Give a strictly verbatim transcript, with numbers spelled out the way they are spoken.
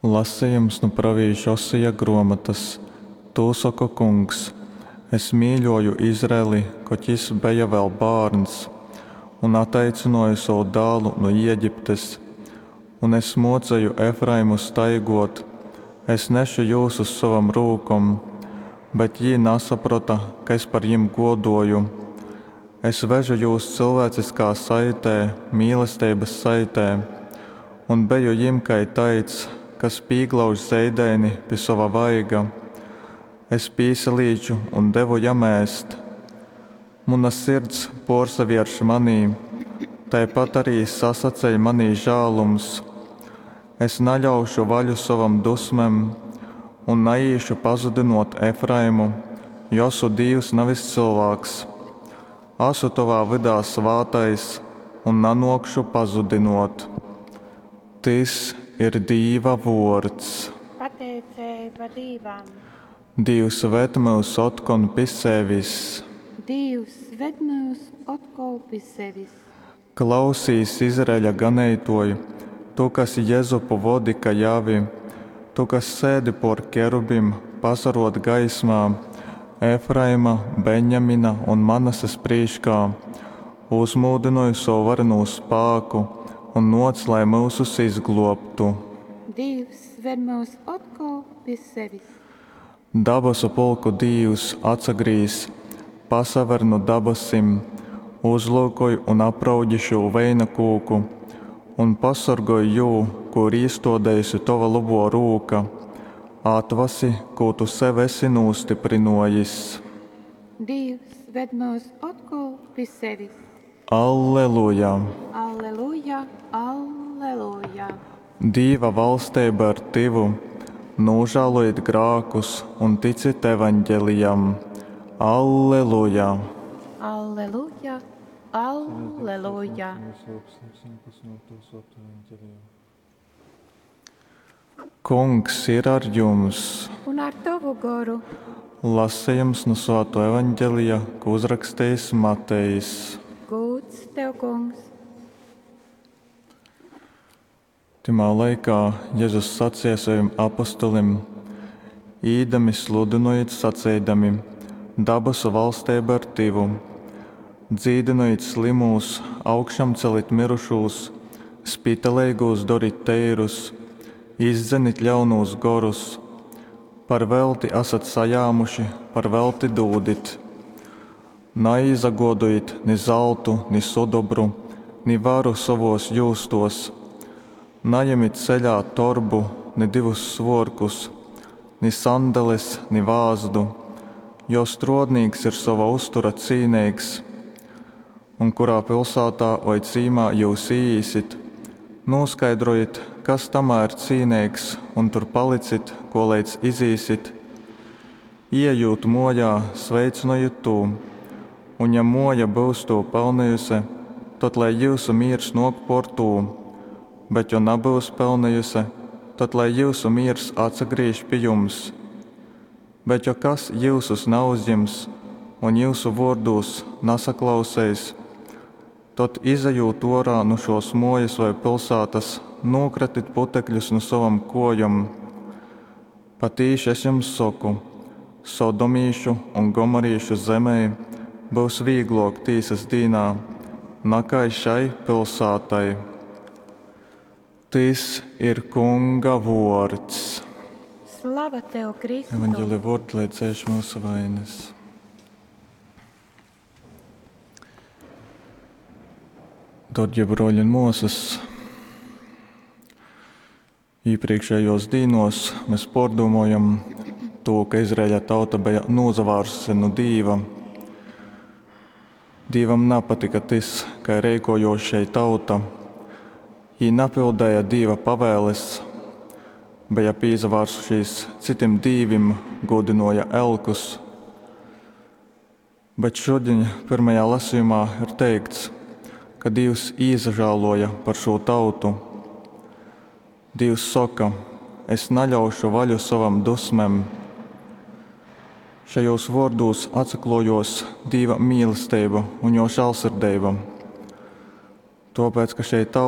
Lasejums nu pravīša Osija gruomotys. Tū soka Kungs, Es mīļōju Izraeli, kod jys beja vēl bārns, un ataicynōju sovu dālu nu Iegiptes. Un es mōceju Efraimu staigōt, es nešu jūs uz sovom rūkom, bet jī nasaprota, ka es par jim gōdōju. Es vežu jūs cilvēciskā saitē, mīlesteibas saitē, un beju jim kai taids, kas pīglauž zeidaini pi sova vaiga. Es pīsalīču un devu jam ēst. Muna sirds pōrsavierš manī, taipat ari sasaceļ manī žālums. Es naļaušu vaļu sovom dusmem un naīšu pazudynōt Efraimu, jo asu Dīvs, navis cylvāks. Asu tovā vydā svātais un nanōkšu pazudynōt. Tys ir Dīva vōrds. Pateiceiba Dīvam. Dīvs, ved myus otkon pi sevis! Dīvs, ved myus otkol pi sevis! Klausīs, Izraeļa ganeitōj, tu, kas Jezupu vodi kai avi, tu, kas sēdi pōr kerubim, pasarōd gaismā, Efraima, Benjamina un Manases prīškā, uzmūdynoj sovu varenū spāku un nōc, lai myusus izglōbtu. Dīvs, ved myus otkol pi sevis! Dabasu pulku Dīvs, atsagrīz, pasaver nu dabasim, uzlyukoj un apraugi šū veina kūku un pasorgoj jū, kū ir īstōdejuse tova lobō rūka, atvasi, kū tu sev esi nūstyprynōjis. Dīvs, ved myus otkol pi sevis! Alleluja! Alleluja, alleluja! Dīva valsteiba ir tyvu, nūžālojit grākus un ticit Evaņgelijam. Alleluja! Alleluja, alleluja! Kungs ir ar jums! Un ar tovu goru. Lasejums nu Svātō Evaņgelija, ko uzrakstījis Matejs. Gūds tev, Kungs! Tymā laikā Jezus saceja sovim apostolim: Īdami sludynojit saceidami, Dabasu valsteiba ir tyvu. Dzīdynojit slymūs, augšamcelit myrušūs, spitaleigūs dorit teirus, izdzenit ļaunūs gorus. Par velti asat sajāmuši, par velti dūdit. Naīsagōdojit ni zaltu, ni sudobru, ni varu sovōs jūstōs. Najemit ceļā torbu, ni divus svōrkus, ni sandales, ni vāzdu, jo strōdnīks ir sova uztura cīneigs. Un kurā pilsātā voi cīmā jyus īīsit, nūskaidrojit, kas tamā ir cīneigs, un tur palicit, koleidz izīsit. Ieejūt mōjā, sveicynojit tū, un ja mōja byus tū pelnejuse, tad lai jyusu mīrs nōk pōr tū, bet jo nabyus pelnejuse, tad lai jyusu mīrs atsagrīž pi jums. Bet jo kas jyusus nauzjims un jyusu vōrdūs nasaklauseis, tad, izejūt ōrā nu šōs mōjas voi pilsātas, nūkratit putekļus nu sovom kōjom. Patīši es jums soku, sodomīšu un gomorīšu zemei byus vīglōk tīsas dīnā, nakai šai pilsātai. Tys ir Kunga vōrds. Slava tev, Kristu! Evangelija vōrdi, lai dzēš myusu vainas. Darbie broļi un māsas, iepriekšējos dīnos mēs pārdomājam to, ka Izraēļa tauta bija nozavārsusi no Dīva. Dīvam nepatika tas, kā rīkojos šei tauta. Jī napildēja Dīva pavēles, bija pīsavārsušies citiem dīvim, godinoja elkus. Bet šodien pirmajā lasījumā ir teikts, ka Dievs īsažāloja par šo tautu. Dievs saka, es naļaušu vaļu sovam dusmem. Šajos vōrdos atsaklojos Dīva mīlestība un jo žēlsirdība. Tāpēc, ka šei tauta